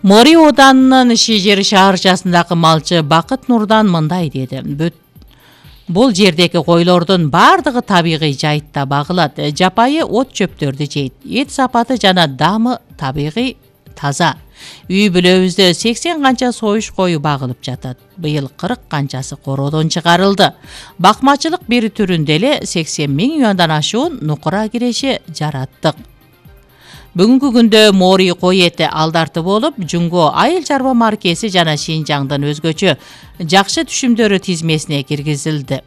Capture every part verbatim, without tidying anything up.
Мори Оданынын Шижер шаарчасындагы малчы Бакыт Нурдан мындай деди: Бул жердеги койлордун бардыгы табигый жайытта багылат. Жапайы от чөптөрдү жейт. Эт сапаты жана дамы табигый таза. Үй бүлөбүздө сексен канча союш кою багылып жатат. Быйыл кырк канчасы короодон чыгарылды. Бакмачылык бир түрүндө эле сексен миң юандан ашуун нукура киреше жараттык. Бүгүнкү күндө Мори кой эти алдарты болуп, Жунго айыл чарба маркеси жана Шинжаңдын өзгөчө жакшы түшүмдөрү тизмесине киргизилди.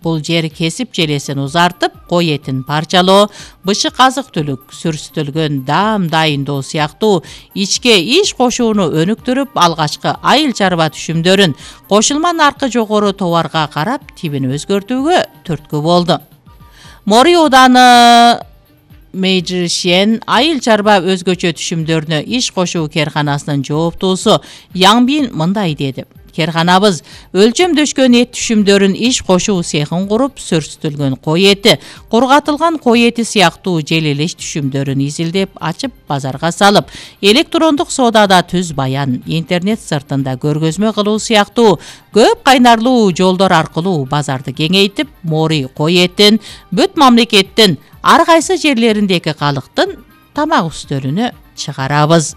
Бул жер кесип желесин узартып, кой этин парчалоо, бышык азык-түлүк, сүрүстөлгөн даам дайындоо сыяктуу ичке иш кошууну өнүктүрүп, алгачкы айыл чарба түшүмдөрүн кошулма наркы жогору товарга карап тибин өзгөртүүгө түрткү болду. Мори Оданы Мейжишен айыл чарба өзгөчө түшүмдөрүнө иш кошуу керканасынын жооптуусу Яңбин мындай деди: Керканабыз өлчөмдөшкөн эт түшүмдөрүн иш кошуу цехин куруп, сүрүстүлгөн кой эти, кургатылган кой эти сыяктуу желелеш түшүмдөрүн изилдеп ачып базарга салып, электрондук соодада түз баян, интернет сыртында көргөзмө кылуу сыяктуу көп кайнарлуу жолдор аркылуу базарды кеңейтип, Мори кой этин бүт мамлекеттин ар кайсы жерлериндеги калктын тамак үстөлүнө чыгарабыз.